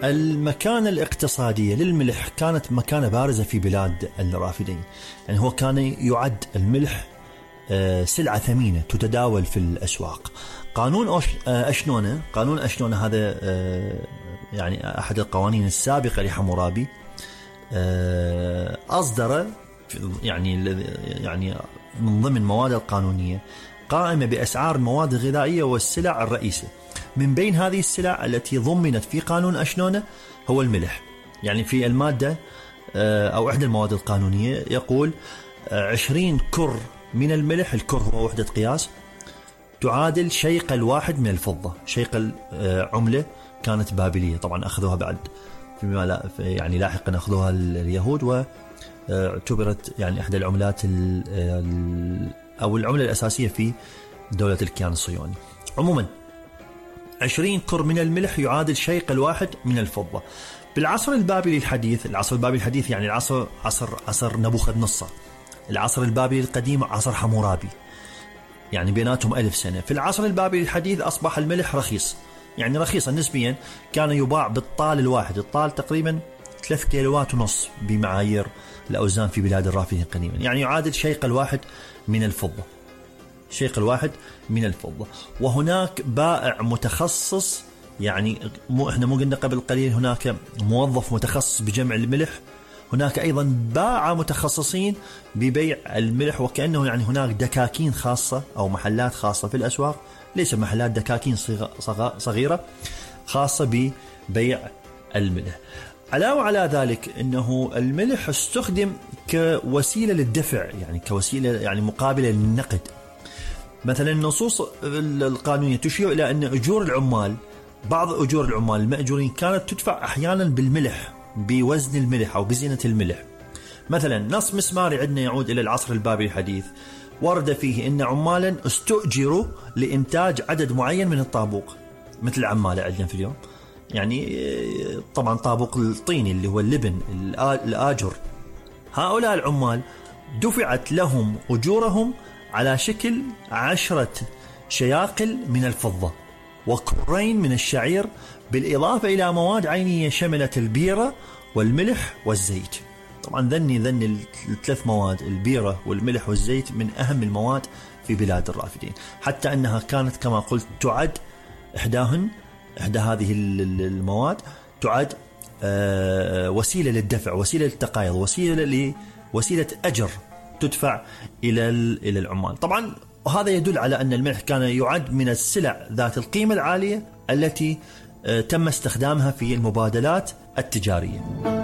المكانة الاقتصادية للملح كانت مكانة بارزة في بلاد الرافدين. يعني هو كان يعد الملح سلعة ثمينة تتداول في الأسواق. قانون أشنونة هذا يعني أحد القوانين السابقة لحمورابي أصدر يعني من ضمن مواد القانونية قائمة بأسعار المواد الغذائية والسلع الرئيسة. من بين هذه السلع التي ضمنت في قانون أشنونة هو الملح. يعني في المادة أو إحدى المواد القانونية يقول 20 كر من الملح، الكر هو وحدة قياس، تعادل شيقل واحد من الفضة. شيقل عملة كانت بابلية، طبعا أخذوها بعد فيما يعني لاحقا أخذوها اليهود، واعتبرت يعني إحدى العملات أو العملة الأساسية في دولة الكيان الصهيوني. عموما 20 كر من الملح يعادل شيقل واحد من الفضة. بالعصر البابلي الحديث، العصر البابلي الحديث يعني عصر نبوخذ نصر، العصر البابلي القديم عصر حمورابي، يعني بيناتهم 1000 سنة. في العصر البابلي الحديث أصبح الملح رخيص، يعني رخيصا نسبيا، كان يباع بالطال الواحد، الطال تقريبا 3 كيلوات ونص بمعايير الأوزان في بلاد الرافدين قديما، يعني يعادل شيقل واحد من الفضة، شيقل واحد من الفضة. وهناك بائع متخصص، يعني احنا مو قلنا قبل قليل هناك موظف متخصص بجمع الملح، هناك أيضا باعة متخصصين ببيع الملح، وكأنه يعني هناك دكاكين خاصة أو محلات خاصة في الأسواق، ليس محلات، دكاكين صغيرة خاصة ببيع الملح. علاوة على ذلك أنه الملح استخدم كوسيلة للدفع، يعني كوسيلة يعني مقابلة للنقد. مثلا النصوص القانونية تشير إلى أن أجور العمال، بعض أجور العمال المأجورين كانت تدفع أحيانا بالملح، بوزن الملح أو بزنة الملح. مثلا نص مسماري عندنا يعود إلى العصر البابلي الحديث، ورد فيه أن عمالا استؤجروا لإنتاج عدد معين من الطابوق، مثل عمالة عندنا في اليوم، يعني طبعا طابوق الطيني اللي هو اللبن الآجر. هؤلاء العمال دفعت لهم أجورهم على شكل 10 شياقل من الفضة وكرين من الشعير، بالإضافة إلى مواد عينية شملت البيرة والملح والزيت. طبعا ذني الثلاث مواد، البيرة والملح والزيت، من أهم المواد في بلاد الرافدين، حتى أنها كانت كما قلت تعد إحدى هذه المواد تعد وسيلة للدفع، وسيلة للتقايض، وسيلة أجر تدفع إلى العمال. طبعا وهذا يدل على أن الملح كان يعد من السلع ذات القيمة العالية التي تم استخدامها في المبادلات التجارية.